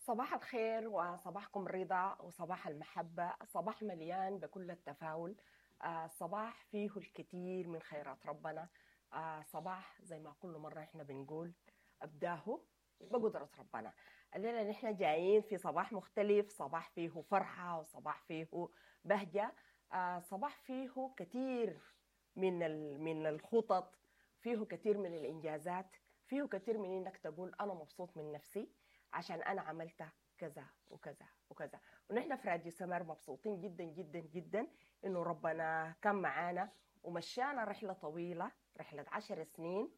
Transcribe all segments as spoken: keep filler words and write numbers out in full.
صباح الخير وصباحكم رضا وصباح المحبة، صباح مليان بكل التفاؤل، آه، صباح فيه الكثير من خيرات ربنا، آه، صباح زي ما كل مرة احنا بنقول أبداه بقدرة ربنا. الليلة نحن جايين في صباح مختلف، صباح فيه فرحة وصباح فيه بهجة، آه، صباح فيه كثير من من الخطط، فيه كثير من الإنجازات، فيه كثير من إنك تقول أنا مبسوط من نفسي عشان أنا عملت كذا وكذا وكذا. ونحن في راديو سمر مبسوطين جدا جدا جدا إنه ربنا كان معانا ومشانا رحلة طويلة، رحلة عشر سنين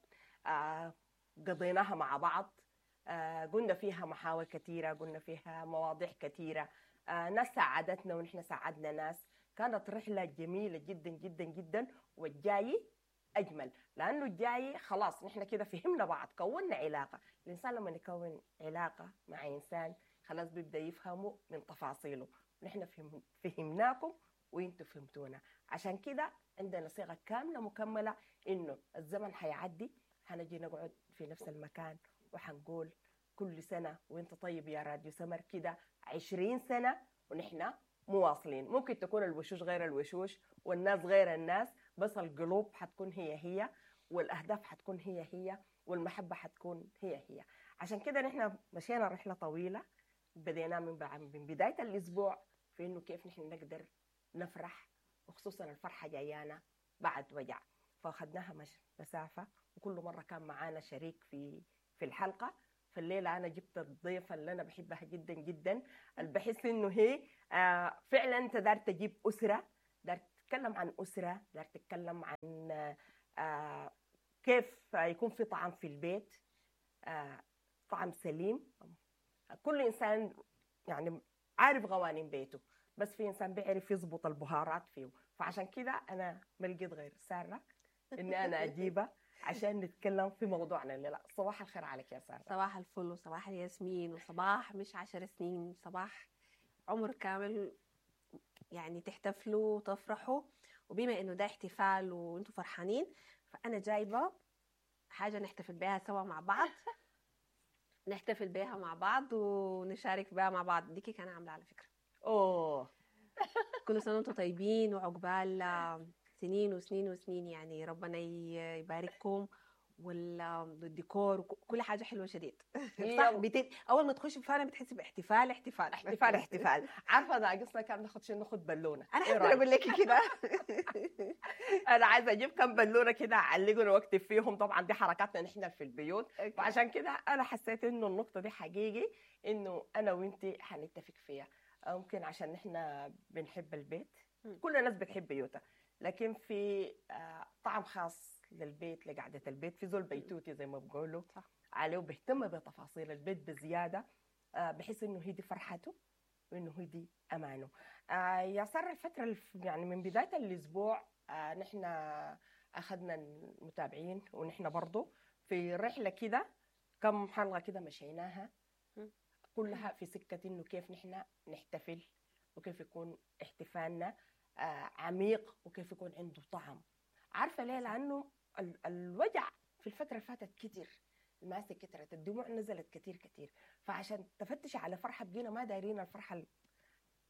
آه قضيناها مع بعض، آه قلنا فيها محاور كثيرة، قلنا فيها مواضيع كثيرة، آه ناس ساعدتنا ونحن ساعدنا ناس. كانت رحلة جميلة جدا جدا جدا، والجاي أجمل لأنه الجاي خلاص نحن كده فهمنا بعض، كونا علاقة. الإنسان لما يكون علاقة مع إنسان خلاص بيبدأ يفهمه من تفاصيله. نحن فهم فهمناكم وإنتوا فهمتونا، عشان كده عندنا صيغة كاملة مكملة إنه الزمن حيعدي، حنجي نقعد في نفس المكان وحنقول كل سنة وإنت طيب يا راديو سمر، كده عشرين سنة ونحن مواصلين. ممكن تكون الوشوش غير الوشوش والناس غير الناس، بس القلوب حتكون هي هي، والأهداف حتكون هي هي، والمحبة حتكون هي هي. عشان كده نحن مشينا رحلة طويلة، بدينا من من بداية الأسبوع في إنه كيف نحن نقدر نفرح، وخصوصا الفرحة جايانا بعد وجع، فأخذناها مش مسافة، وكل مرة كان معانا شريك في في الحلقة. فالليلة أنا جبت الضيفة اللي أنا بحبها جدا جدا، اللي بحس إنه هي آه فعلا أنت دار تجيب أسرة، دار تتكلم عن أسرة، دار تتكلم عن آه كيف يكون في طعام في البيت، آه طعام سليم. كل إنسان يعني عارف قوانين بيته، بس في إنسان بيعرف يضبط البهارات فيه. فعشان كده أنا ما لقيت غير سارة إني أنا أجيبها عشان نتكلم في موضوعنا الليلة. صباح الخير عليك يا سارة. صباح الفل وصباح الياسمين وصباح مش عشر سنين، صباح عمر كامل، يعني تحتفلوا وتفرحوا. وبما انه ده احتفال وانتم فرحانين، فانا جايبه حاجة نحتفل بها سوا مع بعض، نحتفل بها مع بعض ونشارك بها مع بعض. دي كيك انا عامله على فكرة. اوه كل سنة وانتم طيبين وعقبال سنين وسنين وسنين، يعني ربنا يبارككم، والديكور وكل حاجة حلوة شديد. صح، بت... اول ما تخش فعلا بتحسي باحتفال احتفال احتفال احتفال. عارفه ناقصنا كان ناخد شيء، ناخد بالونه. انا حابة اقول لك كده. انا عايزه اجيب كم بالونه كده اعلقهم واكتب فيهم. طبعا دي حركاتنا نحن في البيوت، وعشان كده انا حسيت انه النقطة دي حقيقي انه انا وانتي حنتفق فيها. ممكن عشان نحن بنحب البيت، كل الناس بتحب بيوتها، لكن في طعم خاص للبيت، لقعدة البيت. في زول بيتوتي زي ما بقولوا عليه، وبيهتم بتفاصيل البيت بزيادة، بحس إنه هي دي فرحته وإنه هي دي أمانه. يا سارة، الفترة يعني من بداية الأسبوع نحن أخذنا المتابعين ونحن برضو في رحلة كده، كم حلقة كده مشيناها كلها في سكة إنه كيف نحن نحتفل وكيف يكون احتفالنا عميق وكيف يكون عنده طعم. عارفة ليه؟ لأنه الوجع في الفترة اللي فاتت كتير، المآسي كترت، الدموع نزلت كتير كتير. فعشان تفتش على فرحة بقينا ما دايرين الفرحة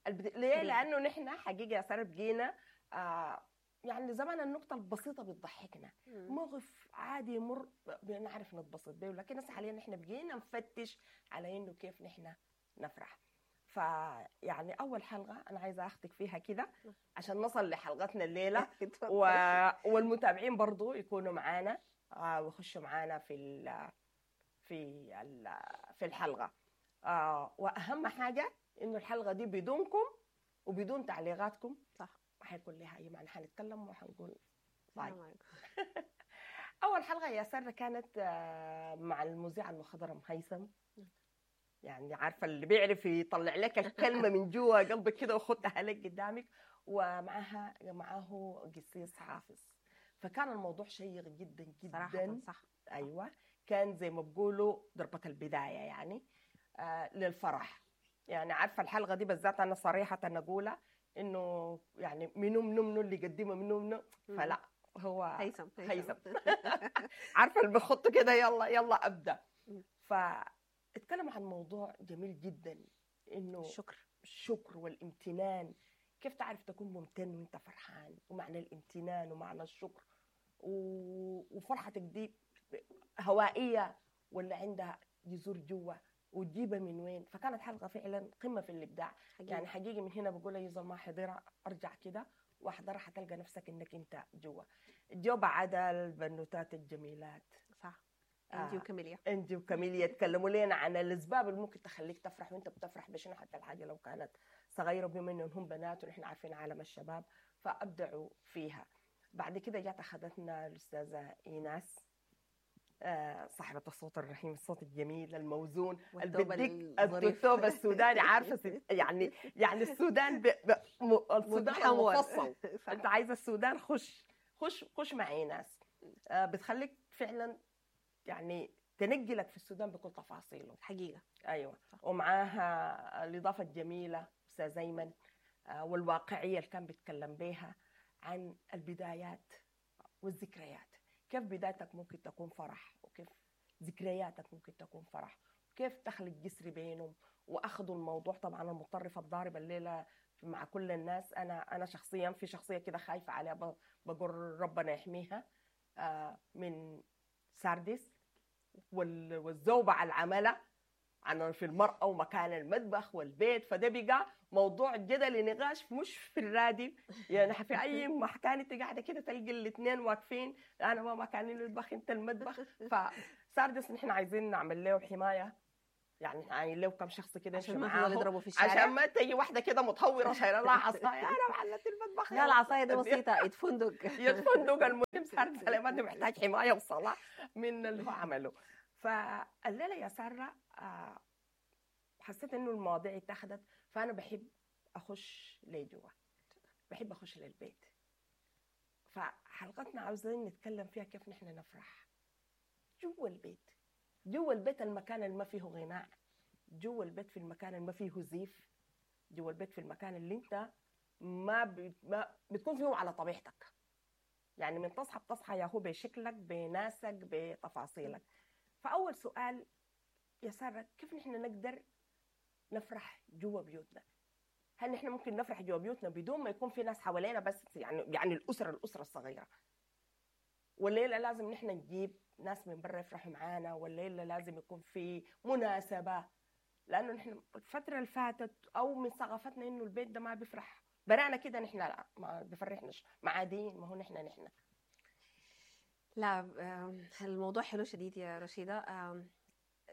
البد... ليه؟ لأنه نحن حقيقة يا سارة بقينا آه يعني زمان النقطة البسيطة بتضحكنا، موقف عادي يمر بنعرف نتبسط به، لكن هسه حاليا نحن بقينا نفتش على إنه كيف نحن نفرح. فيعني أول حلقة أنا عايزة أخذك فيها كده عشان نصل لحلقتنا الليلة، و... والمتابعين برضو يكونوا معانا ويخشوا معانا في ال... في ال... في الحلقة. وأهم حاجة إنه الحلقة دي بدونكم وبدون تعليقاتكم صح ما حيكون لها أي معنى. حنتكلم وحنقول باي. أول حلقة يا سارة كانت مع المذيع المخضرم هيثم، يعني عارفة اللي بيعرف يطلع لك الكلمة من جوا قلبك كده وخدتها لك قدامك، ومعها معاه قسيس حافظ. فكان الموضوع شيق جدا جدا صراحة. صح، أيوة، كان زي ما بقولوا ضربة البداية يعني آه للفرح. يعني عارفة الحلقة دي بالذات أنا صريحة أقولها إنه يعني منو منو منو اللي قدمه منو منو، فلا هو هيثم هيثم. عارفة اللي بخطه كده يلا يلا أبدأ. ف اتكلموا عن موضوع جميل جدا، انه الشكر الشكر والامتنان، كيف تعرف تكون ممتن وانت فرحان، ومعنى الامتنان ومعنى الشكر و... وفرحتك دي هوائية ولا عندها جذور جوا وتجيبها من وين. فكانت حلقة فعلا قمة في الابداع. حقيقي. يعني حقيقي من هنا بقول اي زول ما حضرها ارجع كده واحضرها، حتلقى نفسك انك انت جوا. جو بعد البنوتات الجميلات، صح، آه. انتي وكاميليا. انتي وكاميليا تكلموا لنا عن الاسباب اللي ممكن تخليك تفرح، وانت بتفرح بشنو حتى الحاجة لو كانت صغيرة، بما انهم هم بنات ونحن عارفين عالم الشباب فابدعوا فيها. بعد كده جات اخذتنا الاستاذة ايناس، آه، صاحبة الصوت الرحيم، الصوت الجميل الموزون، والثوب بديك الظريف. الثوب السوداني، عارفه ست- يعني يعني السودان ب... ب... م... السودان متحور. المفصل. صح. انت عايزه السودان، خش خش خش مع ايناس. آه، بتخليك فعلا يعني تنقلك في السودان بكل تفاصيله. حقيقة. ايوه، ومعاها الاضافة الجميلة استاذ ايمن، آه، والواقعيه اللي كان بيتكلم بيها عن البدايات والذكريات، كيف بدايتك ممكن تكون فرح، وكيف ذكرياتك ممكن تكون فرح، وكيف تخلق جسر بينهم. واخذوا الموضوع طبعا المتطرف الضارب الليلة مع كل الناس. انا انا شخصيا في شخصية كده خايفة عليها، ب- بقول ربنا يحميها، آه، من ساردس وال- والزوبعه العملة عن في المرأة ومكان المطبخ والبيت. فده بقى موضوع جدل نقاش مش في الراديو، يعني في أي مكان انت قاعدة كده تلقي الاثنين واقفين، أنا ما مكاني المطبخ انت المطبخ. فساردس نحن عايزين نعمل له حماية، يعني عايزين له كم شخص كده عشان يمشي ما في زول معاه، يضربه في الشارع، عشان ما تجي واحدة كده متهورة شايلة لها عصاية، أنا محلت المطبخ. لا العصاية دي بسيطة، يتفندق. يتفندق. المهم ساردس سليمان محتاج حماية وصلاة من اللي هو عمله. فالليلة يا سارة، آه، حسيت انه المواضيع اتاخدت، فانا بحب اخش لجوا، بحب اخش للبيت. فحلقتنا عاوزين نتكلم فيها كيف نحن نفرح جوا البيت، جوا البيت المكان اللي ما فيه غناء، جوا البيت في المكان اللي ما فيه زيف، جوا البيت في المكان اللي انت ما, ب... ما بتكون فيه على طبيعتك. يعني من تصحى بتصحى يا هو بشكلك بناسك بتفاصيلك. فأول سؤال يا سارة، كيف نحن نقدر نفرح جوا بيوتنا؟ هل نحن ممكن نفرح جوا بيوتنا بدون ما يكون في ناس حوالينا، بس يعني يعني الأسرة الأسرة الصغيرة؟ ولا إلا لازم نحن نجيب ناس من برا يفرحوا معانا، ولا إلا لازم يكون في مناسبة؟ لأنه نحن الفترة اللي فاتت أو من ثقافتنا إنه البيت ده ما بيفرح برانا كده، نحن لا ما بيفرحناش، معادين، ما هو نحن نحن لا، آم، الموضوع حلو شديد يا رشيدة. آم،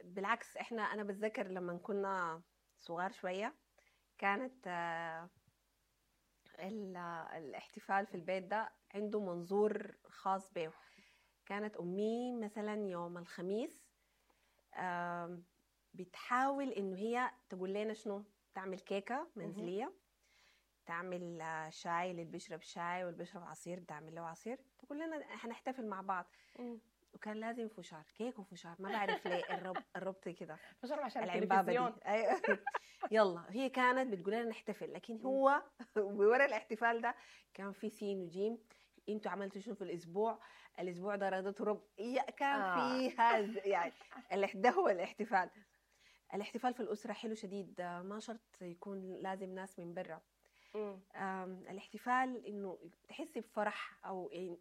بالعكس احنا انا بتذكر لما كنا صغار شوية كانت آه، ال- الاحتفال في البيت ده عنده منظور خاص به. كانت أمي مثلا يوم الخميس آم، بتحاول إنه هي تقول لنا شنو، تعمل كيكة منزلية، تعمل آه، شاي للي بيشرب شاي واللي بيشرب عصير بتعمل له عصير، تقول لنا هنحتفل مع بعض. وكان لازم فشار، كيك وفشار، ما بعرف ليه الرب الربط كده فشرب عشان العبابة دي. التلفزيون. ايوه يلا هي كانت بتقول لنا نحتفل، لكن هو ورا الاحتفال ده كان في سين وجيم، انتوا عملتوا شنو في الاسبوع، الاسبوع ده رضيتوا رب، يا كان آه. فيها ز- يعني الاح- ده هو الاحتفال. الاحتفال في الاسرة حلو شديد، ما شرط يكون لازم ناس من برا. مم. آم، الاحتفال انه تحسي بفرح او إن-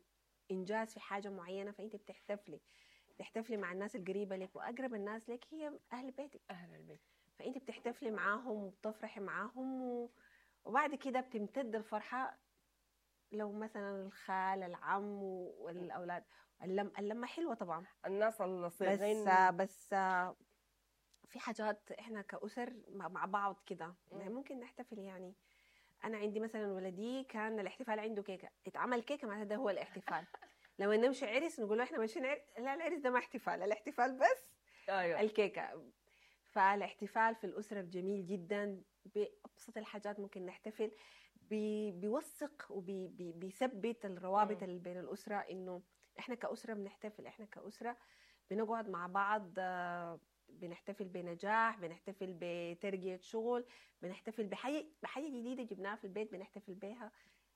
انجاز في حاجة معينة، فانت بتحتفلي، بتحتفلي مع الناس القريبة لك، واقرب الناس لك هي اهل بيتك، اهل البيت، فانت بتحتفلي معاهم وبتفرحي معاهم و... وبعد كده بتمتد الفرحة لو مثلا الخال، العم والاولاد. اللم اللمة حلوة طبعا، الناس الصغيرين. بس بس في حاجات احنا كأسر مع بعض كده مم. ممكن نحتفل. يعني انا عندي مثلا ولدي كان الاحتفال عنده كيكة، اتعمل كيكة معناتها ده هو الاحتفال. لما نمشي عرس نقول له احنا ماشيين عرس، لا العرس ده ما احتفال، الاحتفال بس أيوة. الكيكه. فالاحتفال في الاسرة جميل جدا، بابسط الحاجات ممكن نحتفل، بي بيوثق وبيثبت الروابط مم. اللي بين الاسرة، انه احنا كاسره بنحتفل، احنا كاسره بنقعد مع بعض، آه، بنحتفل بنجاح، بنحتفل بترقية شغل، بنحتفل بحاجة بحاجة جديدة جبناها في البيت بنحتفل بيها.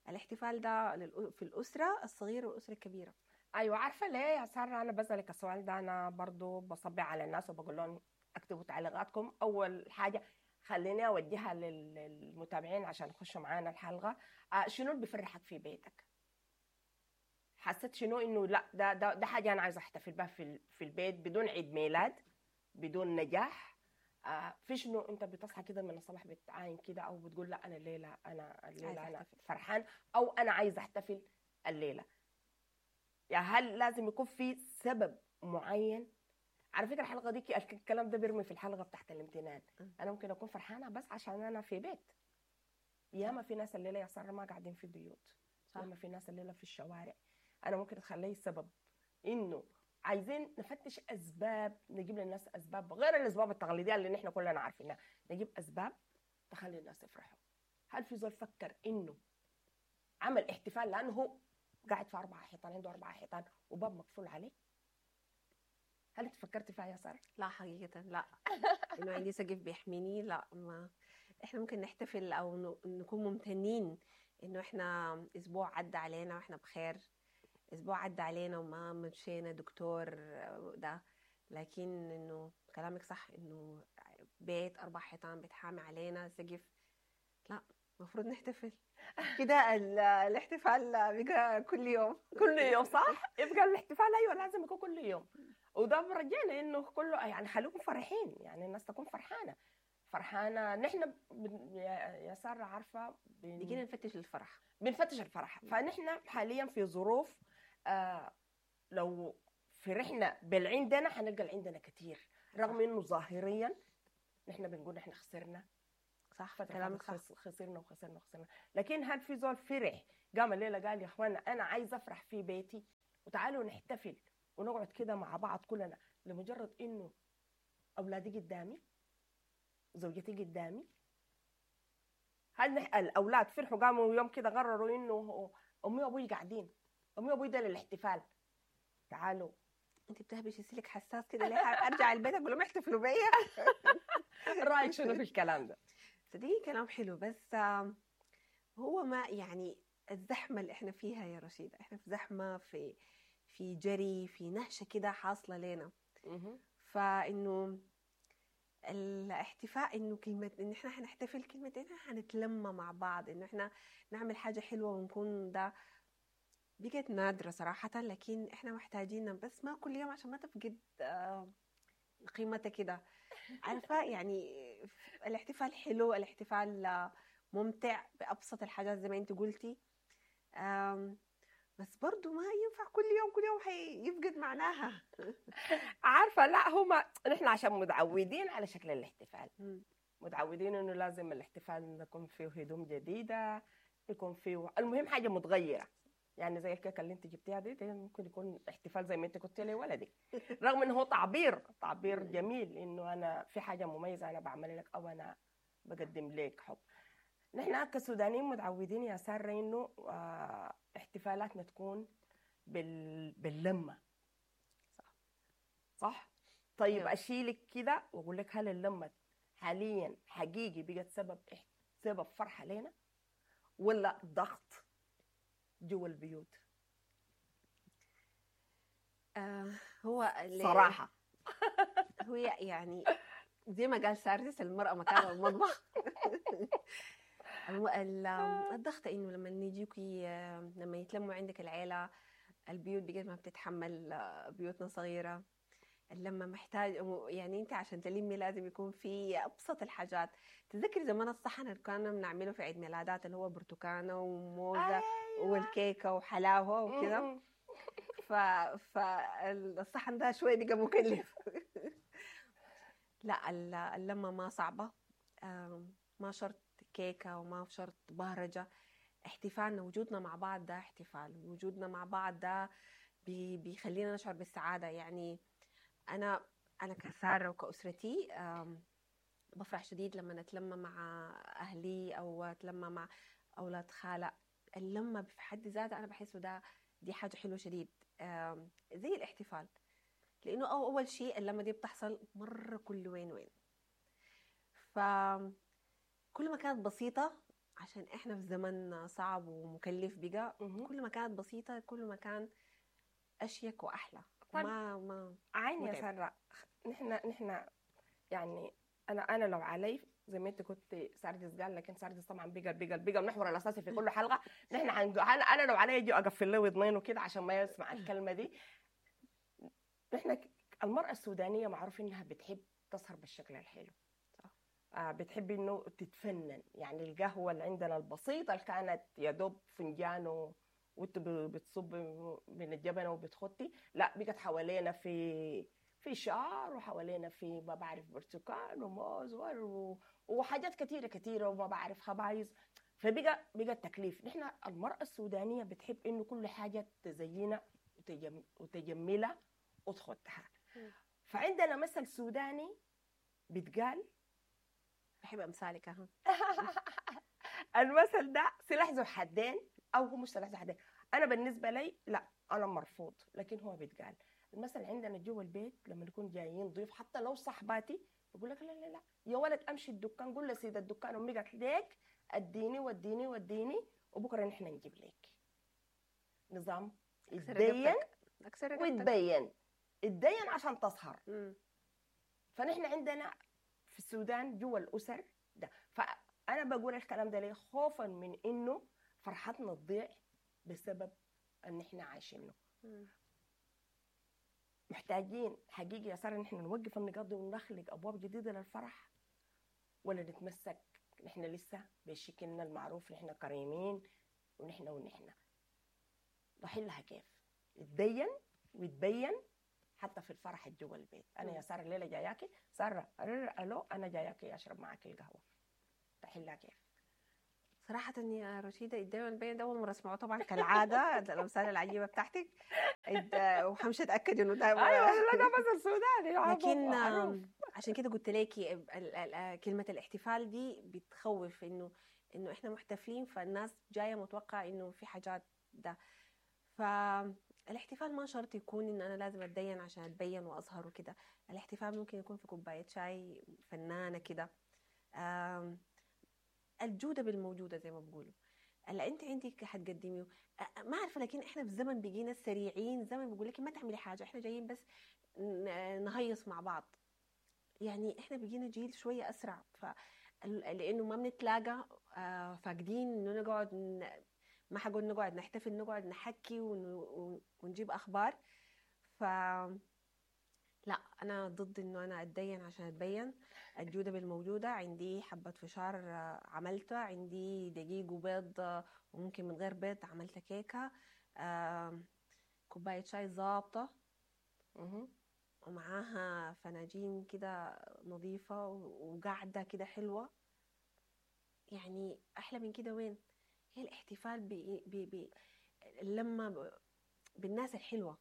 الاحتفال ده للأ- في الأسرة الصغيرة والأسرة الكبيرة. ايوه، عارفه ليه يا ساره انا بسالك السؤال ده؟ انا برضو بصبي على الناس وبقول لهم اكتبوا تعليقاتكم. اول حاجة خليني اوجهها للمتابعين عشان يخشوا معانا الحلقة. آه شنو اللي بيفرحك في بيتك؟ حسيت شنو انه لا ده ده ده حاجة انا عايزه احتفل بها في في البيت بدون عيد ميلاد، بدون نجاح. آه في شنو انت بتصحى كده من الصباح بتعاين كده او بتقول لا انا الليلة انا الليلة انا فرحان او انا عايزه احتفل الليلة؟ يعني هل لازم يكون في سبب معين؟ على فكرة الحلقة دي الكلام ده بيرمي في الحلقة بتاعت الامتنان. انا ممكن اكون فرحانة بس عشان انا في بيت. ياما في ناس الليلة يا ساره ما قاعدين في البيوت، ياما في ناس الليلة في الشوارع. انا ممكن اتخليه سبب انه عايزين نفتش اسباب، نجيب للناس اسباب غير الاسباب التقليدية اللي نحن كلنا عارفينها، نجيب اسباب تخلي الناس يفرحوا. هل في زول فكر انه عمل احتفال لانه هو قاعد في اربع حيطان، عنده اربع حيطان وباب مقفول عليه؟ هل انت فكرتي فيها يا ساره؟ لا حقيقة لا. انه عندي سقف بيحميني، لا. ما احنا ممكن نحتفل او نكون ممتنين انه احنا اسبوع عدى علينا واحنا بخير، اسبوع عدى علينا وما مشينا دكتور ده. لكن انه كلامك صح، انه بيت اربع حيطان بتحامي علينا سقف، لا المفروض نحتفل كده. الاحتفال بقى كل يوم، كل يوم صح؟ يبقى الاحتفال ايوه لازم يكون كل يوم. وده برجعنا انه كله يعني خليكم فرحين، يعني الناس تكون فرحانة فرحانة. نحن يا ساره عارفه بن... نفتش الفرح، بنفتش الفرح. فنحن حاليا في ظروف آه لو فرحنا بالعندنا حنلقى العندنا كثير، رغم انه ظاهريا نحن بنقول نحن خسرنا، صح كلامك صح، خسرنا وخسرنا وخسرنا. لكن هل في زول فرح قام الليلة قال يا اخوانا انا عايز افرح في بيتي وتعالوا نحتفل ونقعد كده مع بعض كلنا لمجرد انه اولادي قدامي، زوجتي قدامي؟ هل نح... الاولاد فرحوا قاموا يوم كده قرروا انه امي وابوي قاعدين، امي وابوي ده للاحتفال، تعالوا؟ انت بتهبشي سلك حساس كده ليه؟ ارجع البيت اقول لهم احتفلوا بيا. رايك شنو في الكلام ده؟ صدقيني كلام حلو، بس هو ما يعني الزحمة اللي احنا فيها يا رشيده، احنا في زحمة، في في جري، في نهشه كده حاصله لنا. فانه الاحتفاء انه كلمة ان احنا حنحتفل، كلمة ان احنا حنتلم مع بعض، انه احنا نعمل حاجة حلوة ونكون ده، بقت نادرة صراحة. لكن احنا محتاجين، بس ما كل يوم عشان ما تفقد قيمتها كده، عارفه يعني. الاحتفال حلو، الاحتفال ممتع بابسط الحاجات زي ما انت قلتي، بس برضو ما ينفع كل يوم، كل يوم حيفقد معناها. عارفه لا هما نحن عشان متعودين على شكل الاحتفال، متعودين انه لازم الاحتفال يكون فيه هدوم جديدة، يكون فيه المهم حاجة متغيرة، يعني زي الكيكه اللي انت جبتيها دي, دي ممكن يكون احتفال زي ما انت كنت لولدك، رغم انه هو تعبير تعبير جميل انه انا في حاجة مميزة انا بعمل لك او انا بقدم لك حب. نحن كسودانيين متعودين يا ساره انه احتفالاتنا تكون بال... باللمه، صح صح؟ طيب اشيلك كده واقول لك هل اللمة حاليا حقيقي بقت سبب سبب فرحه لنا ولا ضغط جوا البيوت؟ آه هو صراحة هو يعني زي ما قال ساردس المرأة مكانها المطبخ. الضغط انه لما يجيكي، لما يتلموا عندك العيلة، البيوت بقت ما بتتحمل، بيوتنا صغيرة، لما محتاج يعني انت عشان تلمي لازم يكون في ابسط الحاجات. تذكري زمان الصحن اللي كنا بنعمله في عيد ميلادات اللي هو برتقانه وموزه، أيوة. والكيكه وحلاوة وكده. ف فالصحن ده شوية بقى مكلف. لا اللمة ما صعبة، ما شرط كيكة وما شرط بهرجة. احتفالنا، وجودنا مع بعض ده احتفال، وجودنا مع بعض ده بيخلينا نشعر بالسعادة. يعني انا انا كساره وكاسرتي بفرح شديد لما نتلم مع اهلي او اتلم مع اولاد خاله. اللمة في حد ذاتها انا بحسه ده دي حاجة حلوة شديد، زي الاحتفال، لانه اول شيء اللمة دي بتحصل مرة كل وين وين، فكل ما كانت بسيطة، عشان احنا في زمن صعب ومكلف بقى، كل ما كانت بسيطة كل ما كان اشيك واحلى. طيب ما ما عيني يا ساره، نحن نحن يعني انا انا لو علي زي ما انت كنت ساردس قال، لكن ساردس طبعا بقى بقى بقى المحور الاساسي في كل حلقة. نحن حنقو- انا انا لو علي اجي اقفل له ودنينه كده عشان ما يسمع الكلمة دي. نحن ك- المراة السودانية معروف انها بتحب تسهر بالشكل الحلو. صح. آه بتحب انه تتفنن، يعني القهوة اللي عندنا البسيطة اللي كانت يا دوب فنجان و- وانت ب- بتصب من الجبنة وبتخطي، لا بقت حوالينا في في شعر، وحوالينا في ما بعرف برتقال وموز و- وحاجات كثيرة كثيرة وما بعرف خبايز. فبقى بقى التكليف. نحن المراة السودانية بتحب انه كل حاجة تزينها وتجم وتجملها وتخطها. مم. فعندنا مثل سوداني بيتقال، بحب امثالك اها. المثل ده سلاح ذو حدين، او هو مش سلاح ذو حدين، انا بالنسبة لي لا انا مرفوض، لكن هو بيتقال. المثل عندنا جوا البيت لما نكون جايين ضيوف حتى لو صاحباتي بقول لك لا لا لا يا ولد امشي الدكان قول لسيد الدكان امي قالت لك اديني وديني وديني وبكره نحن نجيب لك. نظام اكسر اتدين رقبتك، اكسر رقبتك. وتبين، اتدين عشان تسهر. مم. فنحن عندنا في السودان جوا الاسر ده. فانا بقول الكلام ده ليه؟ خوفا من انه فرحتنا تضيع بسبب ان احنا عايشينه. مم. محتاجين حقيقي يا ساره ان احنا نوقف النقاط دي ونخلق ابواب جديدة للفرح، ولا نتمسك نحن لسه بشكلنا المعروف، نحن كريمين ونحن ونحن نحلها كيف؟ يتدين ويتبين حتى في الفرح جوا البيت. انا يا ساره الليلة جاياكي، ساره الو انا جاياكي اشرب معاكي القهوة، تحلها كيف؟ صراحة يا رشيدة دايما البين ده أول مرة أسمعه طبعا كالعادة، الأمثال العجيبة بتاعتك، إد- وحمشي أتأكد إنه ده ايوه لا ده مثل سوداني لكن معروف. آم، عشان كده قلت لك كلمة الاحتفال دي بتخوف، إنه إنه إحنا محتفلين فالناس جاية متوقع إنه في حاجات ده. فالاحتفال ما شرط يكون إن أنا لازم أتدين عشان أتبين وأظهر وكده، الاحتفال ممكن يكون في كوباية شاي فنانة كده. آم، الجودة بالموجودة زي ما بيقولوا، اللي انت عندك حتقدميه. أ- ما عارفه، لكن احنا في زمن بقينا سريعين، زمن بيقول لك ما تعملي حاجة، احنا جايين بس ن- نهيص مع بعض. يعني احنا بقينا جيل شوية اسرع، ف لانه ما بنتلاقى، آه، فاقدين انه نقعد ن- ما حقول نقعد نحتفل، نقعد نحكي ون- ونجيب اخبار. ف لا انا ضد انه انا اتدين عشان اتبين. الجودة بالموجوده، عندي حبه فشار آه، عملتها، عندي دقيق وبيض آه، وممكن من غير بيض عملت كيكة، آم، كوباية شاي ظابطة مهم. ومعاها فناجين كده نظيفة وقعده كده حلوة. يعني احلى من كده وين؟ هي الاحتفال ب ب ب لما ب- بالناس الحلوة،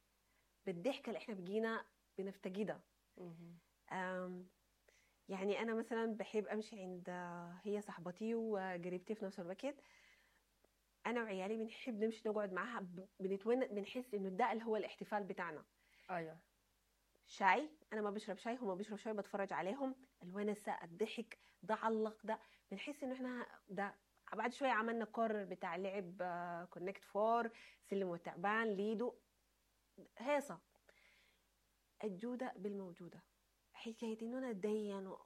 بالضحكه اللي احنا بقينا بنفتقدها. مهم. أم، يعني أنا مثلا بحب أمشي عند هي صاحبتي وقريبتي في نفس الوقت، أنا وعيالي بنحب نمشي نقعد معاها، ب- بنتون بنحس إنه ده اللي هو الاحتفال بتاعنا. ايوه شاي، أنا ما بشرب شاي، هما بيشرب شاي، بتفرج عليهم، الونسة، الضحك، ده علق ده، بنحس إنه إحنا ده. بعد شوية عملنا corner بتاع لعب Connect Four، سلم والتعبان، ليدو، هيصة. الجودة بالموجودة، حكاية إنه أنا أتدين و...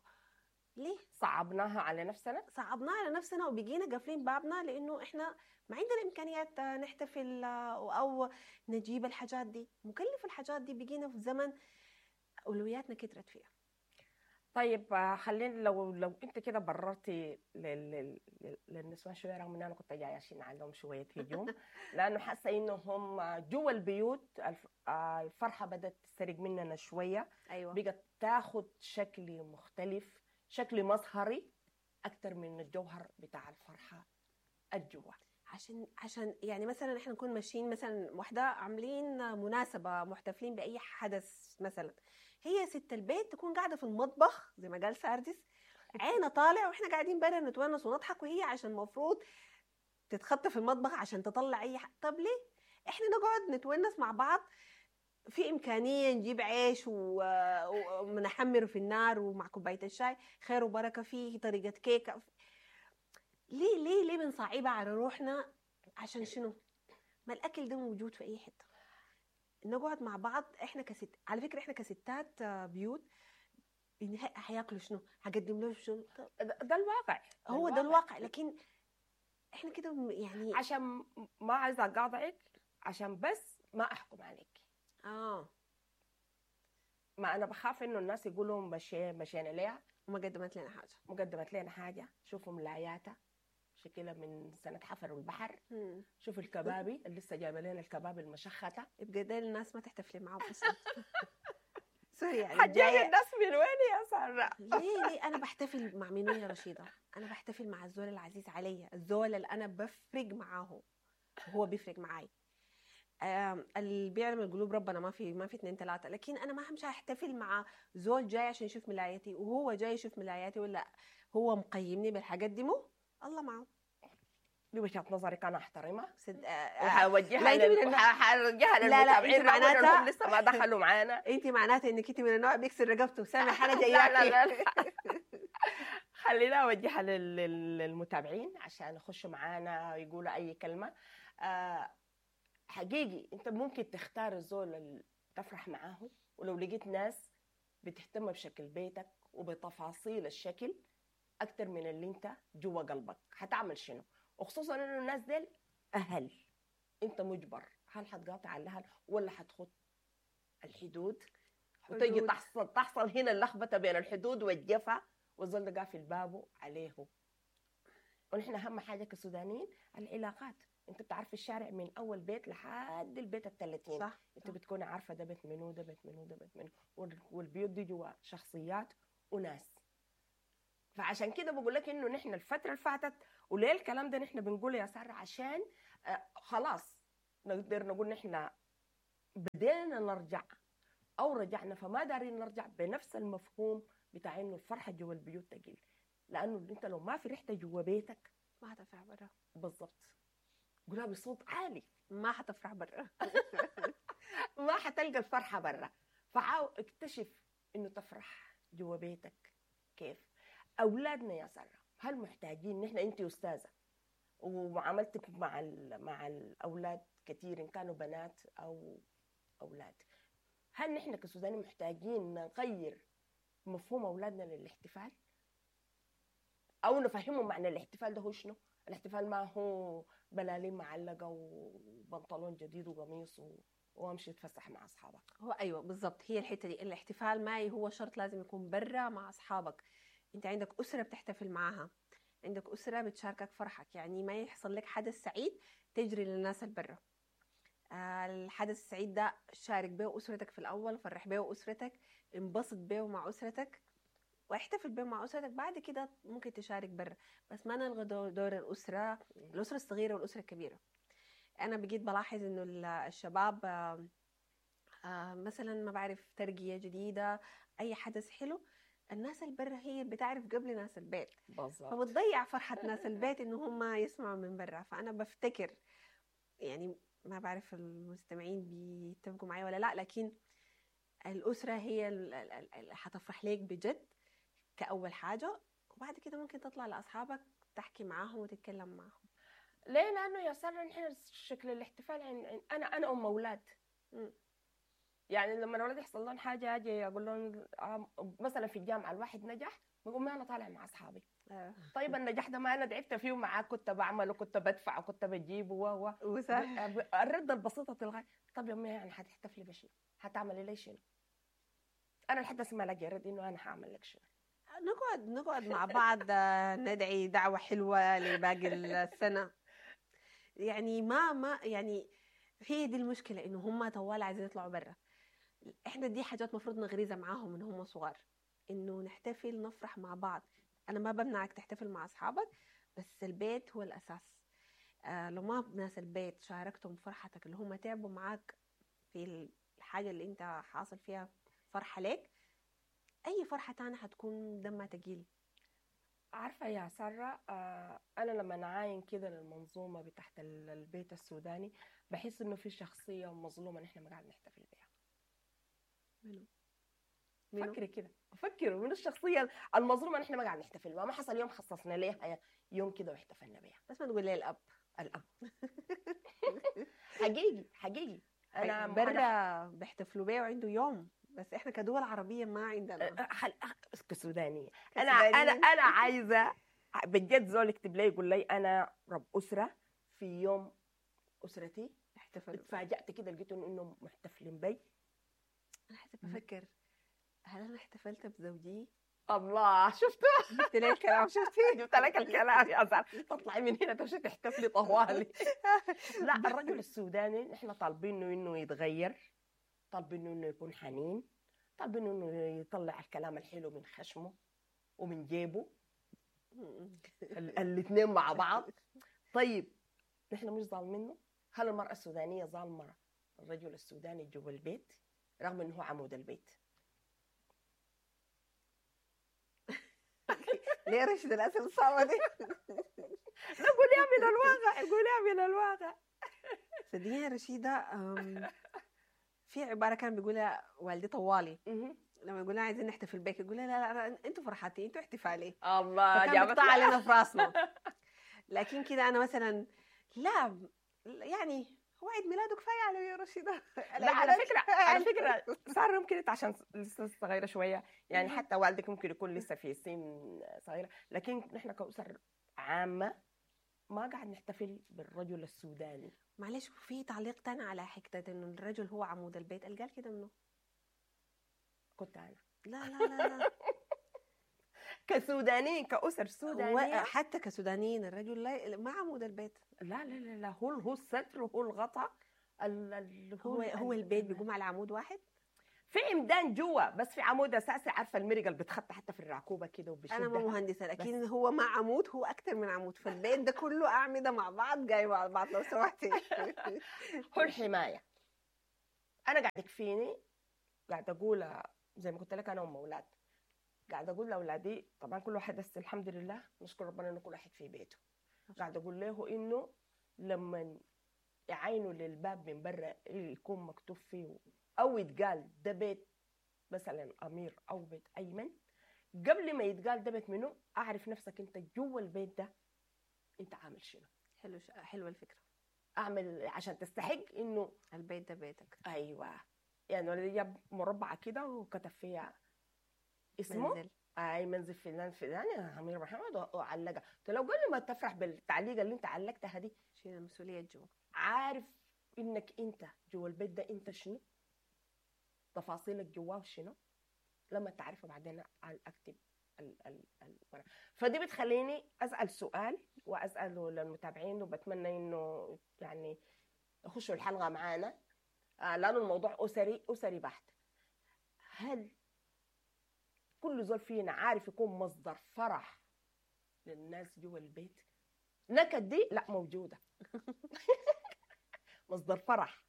ليه؟ صعبناها على نفسنا. صعبناها على نفسنا وبقينا قافلين بابنا، لأنه إحنا ما عندنا إمكانيات نحتفل أو نجيب الحاجات دي، مكلف الحاجات دي، بقينا في زمن أولوياتنا كترت فيها. طيب آه، خلينا لو لو انت كده بررتي لل- لل- لل- للنسوان شوية، رغم ان انا كنت جاية عشان عليهم شوية هجوم، لانه حاسه انه هم جوا البيوت الف- آه، الفرحة بدات تسرق مننا شوية، أيوة. بقت تاخد شكل مختلف، شكل مظهري اكثر من الجوهر بتاع الفرحة الجوا. عشان عشان يعني مثلا احنا نكون ماشيين مثلا واحدة عاملين مناسبة، محتفلين باي حدث مثلا، هي ست البيت تكون قاعدة في المطبخ زي ما قال ساردس، عينه طالع، واحنا قاعدين برا نتونس ونضحك، وهي عشان المفروض تتخطى في المطبخ عشان تطلع اي حاجة. طب ليه احنا نقعد نتونس مع بعض؟ في امكانية نجيب عيش و- ونحمره في النار ومع كوباية الشاي، خير وبركة، فيه طريقه كيكة. ليه ليه ليه بنصعبها على روحنا؟ عشان شنو؟ ما الاكل ده موجود في اي حتة. نقعد مع بعض احنا كست، على فكرة احنا كستات آه، بيوت بالنهاية حياكلوا شنو؟ حقدم لهم شنو؟ ده ده الواقع. هو ده الواقع، لكن احنا كده يعني عشان ما عايزه اقاطعك، عشان بس ما احكم عليك. اه ما انا بخاف انه الناس يقولوا مشي مشينا ليها وما قدمت لنا حاجة، مقدمت لنا حاجة. شوفوا ملاياتها شكلها من سنة حفروا البحر. شوفوا الكبابي اللي لسه جايبه لنا الكبابي المشخته. يبقى ده الناس ما تحتفلي معاهم اصلا. sorry يعني حتجيب الناس من وين يا ساره؟ ليه ليه انا بحتفل مع مين يا رشيده؟ انا بحتفل مع الزول العزيز عليا، الزول اللي انا بفرق معاه وهو بيفرق معاي. اللي بيعلم القلوب ربنا، ما في ما في اثنين ثلاثة. لكن انا ما همشي احتفل مع زول جاي عشان يشوف ملايتي وهو جاي يشوف ملاياتي، ولا هو مقيمني بالحاجات دي. مو الله معه. دي وجهه نظرك انا احترمها. سد... وحوجهها لل... وحوجهها للمتابعين معناتها لسه ما دخلوا معانا. انت معناتها انك انت من النوع بيكسر رقبته سامح انا جاياكي. لا لا لا خلينا اوجهها لل... للمتابعين عشان يخشوا معانا ويقولوا اي كلمة. آه حقيقي انت ممكن تختار الزول اللي تفرح معاه، ولو لقيت ناس بتهتم بشكل بيتك وبتفاصيل الشكل اكتر من اللي انت جوا قلبك، هتعمل شنو؟ وخصوصا انه الناس ديل اهل، انت مجبر. هل حتقاطع الاهل ولا حتخط الحدود؟ وتجي تحصل تحصل هنا اللخبطة بين الحدود والجفا، والزول ده قافل بابه عليه. ونحن اهم حاجة كسودانيين العلاقات. انت بتعرف الشارع من اول بيت لحد البيت الثلاثين. صح. انت بتكون عارفه ده بيت منو، ده بيت منو، ده بيت منو، والبيوت دي جوا شخصيات وناس. فعشان كده بقول لك انه نحن الفترة اللي فاتت، وليه الكلام ده نحن بنقوله يا ساره؟ عشان آه خلاص نقدر نقول نحن بدينا نرجع او رجعنا، فما دارين نرجع بنفس المفهوم بتاع انه الفرحة جوا البيوت تقل، لانه انت لو ما فرحت جوا بيتك ما هتفرح برا. بالضبط. قولها بصوت عالي، ما حتفرح برا. ما حتلقى الفرحة برا. فعاو اكتشف انه تفرح جوا بيتك كيف. اولادنا يا ساره هل محتاجين نحن؟ انت استاذه ومعاملتك مع مع الاولاد كثير ان كانوا بنات او اولاد، هل نحن كسودانيين محتاجين نغير مفهوم اولادنا للاحتفال؟ او نفهمهم معنى الاحتفال ده هو شنو؟ الاحتفال ما هو بلالين معلقه وبنطلون جديد وقميص و... وامشي اتفسح مع اصحابك. هو ايوه بالضبط، هي الحتة دي. الاحتفال ما هو شرط لازم يكون برا مع اصحابك. انت عندك اسره بتحتفل معاها، عندك اسره بتشاركك فرحك. يعني ما يحصل لك حدث سعيد تجري للناس البرة. الحدث السعيد ده شارك به اسرتك في الاول، فرح به اسرتك، انبسط به مع اسرتك، واحتفل به مع اسرتك. بعد كده ممكن تشارك برا، بس ما نلغي دور الاسرة، الاسرة الصغيرة والاسرة الكبيرة. انا بقيت بلاحظ انه الشباب مثلا ما بعرف ترقيه جديدة، اي حدث حلو، الناس البرة هي بتعرف قبل ناس البيت. بالظبط. فبتضيع فرحة ناس البيت إنه هم يسمعوا من برا. فأنا بفتكر يعني ما بعرف المستمعين بيتفقوا معي ولا لا، لكن الأسرة هي اللي حتفرح لك بجد كأول حاجة، وبعد كده ممكن تطلع لأصحابك تحكي معاهم وتتكلم معاهم. ليه؟ لأنه يا سارة نحن شكل الاحتفال عن أنا أنا أم أولاد. يعني لما الاولاد يحصل لهم حاجة اجي اقول لهم مثلا في الجامعة الواحد نجح، بقول ما انا طالع مع اصحابي. آه. طيب النجاح ده ما انا تعبت فيه معاك، كنت بعمل وكنت بدفع وكنت بجيب و و الرده البسيطة تلغي. طب يا امي يعني حتحتفلي بشنو؟ حتعملي لي شنو؟ انا لحد هسه ما لاقي رد انه انا حاعمل لك شنو. نقعد نقعد مع بعض ندعي دعوه حلوة لباقي السنة. يعني ما ما يعني هي دي المشكلة، انه هم طوال عايزين يطلعوا برا. احنا دي حاجات مفروض نغرزها معاهم من هم صغار، انه نحتفل نفرح مع بعض. انا ما بمنعك تحتفل مع اصحابك، بس البيت هو الاساس. آه لو ما ناس البيت شاركتهم فرحتك اللي هم تعبوا معاك في الحاجة اللي انت حاصل فيها فرحه لك، اي فرحه تانية حتكون دمها تقيل. عارفه يا ساره، آه انا لما نعاين كده للمنظومة بتاعت البيت السوداني بحس انه في شخصية مظلومة نحن ما قاعد نحتفل بها. منو؟ فكري كده، فكروا من الشخصية المظلومة نحن ما قاعد نحتفل بها. ما حصل يوم خصصنا ليها يوم كده واحتفلنا بها. بس ما نقول ليه الاب. الاب حقيقي حقيقي انا برا بيحتفلوا بيه وعنده يوم بس احنا كدول عربية ما عندنا. خل... كسودانيه انا انا انا عايزه بجد زول يكتب لي يقول لي انا رب اسره في يوم اسرتي احتفلوا. اتفاجأت كده لقيت انهم محتفلين بي. انا حسب بفكر هل انا احتفلت بزوجي؟ الله، شفت؟ جبت لي الكلام، شفتي؟ جبت لك الكلام يا سارة، تطلعي من هنا تمشي تحتفلي طوالي. لا، الرجل السوداني نحن طالبينه انه يتغير، طالبينه انه يكون حنين، طالبينه انه يطلع الكلام الحلو من خشمه ومن جيبه، الاثنين مع بعض. طيب نحن مش ظالمينه؟ هل المرأة السودانية ظالمة الرجل السوداني جوا البيت رغم انه هو عمود البيت؟ ليه رشد الاسئلة الصعبة دي؟ لا قوليها من الواقع، قوليها من الواقع. صدقيني يا رشيده، في عبارة كان بيقولها والدي طوالي لما يقول لها عايزين نحتفل بك، يقول لها لا لا انتوا فرحتي، انتوا احتفالي. الله، جابت علينا في راسنا. لكن كده انا مثلا لا، يعني هو عيد ميلاده كفاية على يا رشيده. لا على فكرة، على فكرة ساره ممكن انت عشان لسه صغيرة شوية، يعني حتى والدك ممكن يكون لسه في سن صغيرة، لكن نحن كاسر عامة ما قاعد نحتفل بالرجل السوداني. معلش، في تعليق تاني على حكاية انه الرجل هو عمود البيت، قال كده منه؟ كنت انا. لا لا لا لا كسودانيين، كأسر سودانية، حتى كسودانيين الرجل لا، ما عمود البيت. لا لا لا لا، هو هو الستر وهو الغطاء، ال هو هو البيت بيقوم على عمود واحد، في عمدان جوا بس في عمود اساسي. عارفه المرقه اللي بتخط حتى في الرعكوبه كده وبشدها. انا ما مهندسه، لكن هو ما عمود، هو اكثر من عمود، فالبيت ده كله اعمدة مع بعض جاي مع بعض لو سمحتي. هو الحماية. انا قاعد يكفيني، قاعد اقول زي ما قلت لك انا ام اولاد، قاعد اقول لاولادي طبعا كل واحد، بس الحمد لله نشكر ربنا انه كل واحد في بيته، قاعد اقول له انه لما يعاينوا للباب من برا يكون مكتوب فيه او يتقال ده بيت مثلا امير او بيت ايمن، قبل ما يتقال ده بيت منه اعرف نفسك انت جوا البيت ده انت عامل شنو. حلو، حلوة الفكرة. اعمل عشان تستحق انه البيت ده بيتك. ايوه، يعني ولدي جاب مربعه كده وكتب فيها اسمه، منزل. اي منزل فلان فلان يا امير محمد، وعلقها. قلت له قبل ما تفرح بالتعليقه اللي انت علقتها دي، شيل المسؤولية جوا، عارف انك انت جوا البيت ده انت شنو، تفاصيلك جواه شنو، لما تعرفه بعدين اكتب ال ال ال فدي بتخليني اسال سؤال واساله للمتابعين، وبتمنى انه يعني يخشوا الحلقة معانا لانه الموضوع اسري اسري بحت. هل كل زول فينا عارف يكون مصدر فرح للناس جوا البيت؟ نكد دي لا موجودة. مصدر فرح.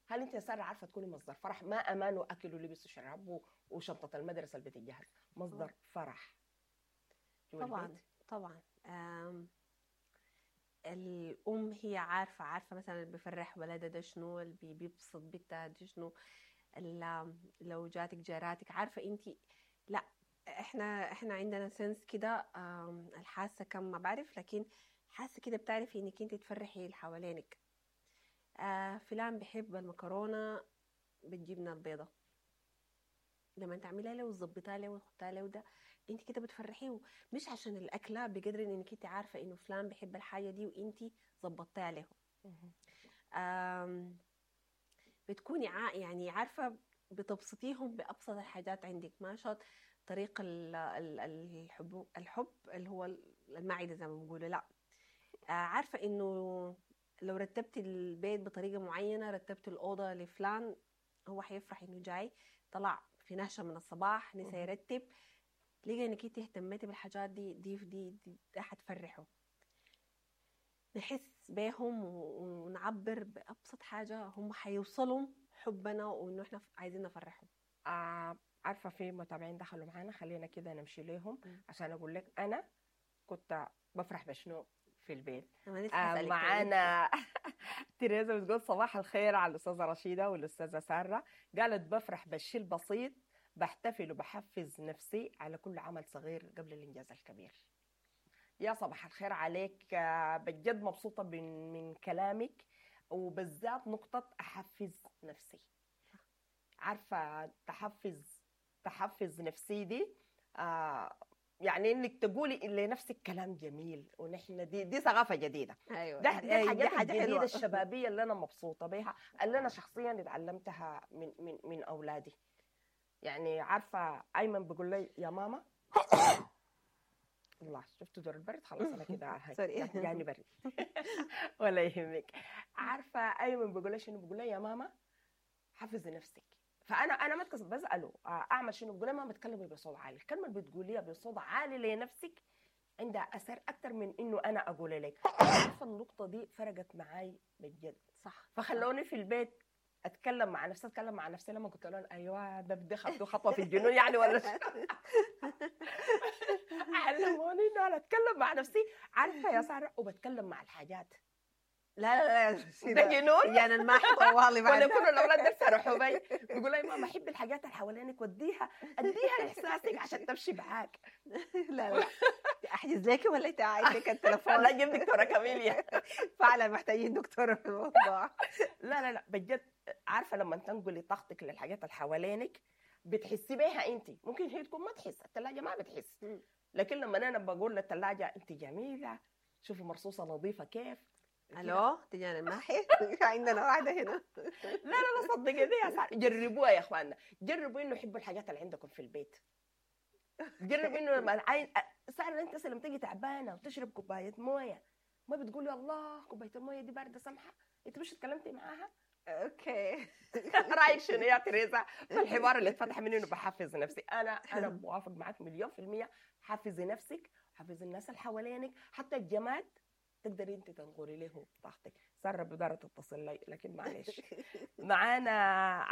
هل انت يا ساره عارفه تكوني مصدر فرح؟ ما امان واكل ولبس وشراب وشنطه المدرسة اللي بتتجهز، مصدر فرح جوا طبعا البيت. طبعا. الام هي عارفه عارفه مثلا اللي بيفرح ولدها ده شنو، اللي بيبسط بنتها ده شنو، لو جاتك جاراتك عارفه انت. لا احنا احنا عندنا سنس كده، الحاسة كم ما بعرف، لكن حاسه كده بتعرفي انك انت تفرحي اللي حوالينك. آه فلان بحب المكرونه بالجبنه البيضاء، لما تعمليها له وتظبطها له وتحطها له ده انت كده بتفرحيه، مش عشان الاكلة بقدر انك انت عارفه انه فلان بحب الحاجة دي وانت ظبطتها له. بتكوني يعني عارفه بتبسطيهم بابسط الحاجات عندك، ما شرط طريق الحب الحب اللي هو المعدة زي ما بنقولوا، لا عارفه انه لو رتبت البيت بطريقة معينة، رتبت الاوضة لفلان هو حيفرح انه جاي، طلع في نهشه من الصباح نسى يرتب، لقى انك انت اهتميتي بالحاجات دي دي دي, دي ده حتفرحه. نحس بيهم ونعبر بابسط حاجة هم حيوصلوا حبنا وانه احنا عايزين نفرحهم. آه عارفه في متابعين دخلوا معانا، خلينا كده نمشي لهم عشان اقول لك انا كنت بفرح بشنو في البيت. آه معانا تريزا بتقول صباح الخير على الاستاذة رشيده والاستاذه ساره، قالت بفرح بالشيء البسيط، بحتفل وبحفز نفسي على كل عمل صغير قبل الانجاز الكبير. يا صباح الخير عليك، بجد مبسوطة من, من كلامك، وبالذات نقطة احفز نفسي. عارفه تحفز تحفز نفسي دي، آه يعني انك تقولي لنفسك كلام جميل، ونحن دي دي ثقافة جديدة. ايوه، ده دي دي الحاجات حاجة الجديدة حلوة. الشبابية اللي انا مبسوطة بيها، اللي انا شخصيا اتعلمتها من من من اولادي. يعني عارفه ايمن بيقول لي يا ماما، الله شفتوا دور البرد، خلاص انا كده sorry. جاني برد. ولا يهمك. عارفه ايمن بيقول لي شنو؟ بيقول لي يا ماما حفزي نفسك. فانا انا ما اتكسف، بساله آه، اعمل شنو؟ بيقول لي ماما تكلمي بصوت عالي، الكلمة اللي بتقوليها بصوت عالي لنفسك عندها اثر اكثر من انه انا اقول لك. عارفه النقطة دي فرقت معي بجد. صح. فخلوني في البيت اتكلم مع نفسي، اتكلم مع نفسي لما قلت لهم ايوه ده بدي خطوة خطوة في الجنون يعني ولا شو؟ علموني انه انا اتكلم مع نفسي، عارفه يا ساره، وبتكلم مع الحاجات. لا لا لا، ده جنون. يعني الماحي طوالي ولا بعد. يكونوا الاولاد ده سرحوا بي، بيقولوا لي ماما حبي الحاجات اللي حوالينك وديها اديها احساسك عشان تمشي معاك. لا لا، احجز لك ولا انت عندك التليفون؟ لا جيب دكتورة كاميليا. فعلا محتاجين دكتورة في الموضوع. لا لا لا بجد، عارفه لما تنقلي طاقتك للحاجات اللي حوالينك بتحسي بيها انت، ممكن هي تكون ما تحس، الثلاجة ما بتحس، لكن لما انا بقول للثلاجه انت جميلة، شوفي مرصوصه نظيفة كيف. الو تجان الماحي، عندنا واحدة هنا. لا لا لا صدقني يا سارة، جربوها يا اخواننا، جربوا انه حبوا الحاجات اللي عندكم في البيت. جربوا انه لما العين سارة انت لما تيجي تعبانة وتشرب كوباية مويه ما بتقولي الله كوباية المويه دي باردة سمحه، انت مش اتكلمتي معاها؟ okay. رايك شنو يا تريزا في الحوار اللي اتفتح مني انه بحفز نفسي؟ انا انا موافق معك مليون في المية. حفزي نفسك، حفزي الناس اللي حوالينك، حتى الجماد تقدري انت تنقلي له طاقتك. ساره بدارة تتصل لي لكن معلش. معانا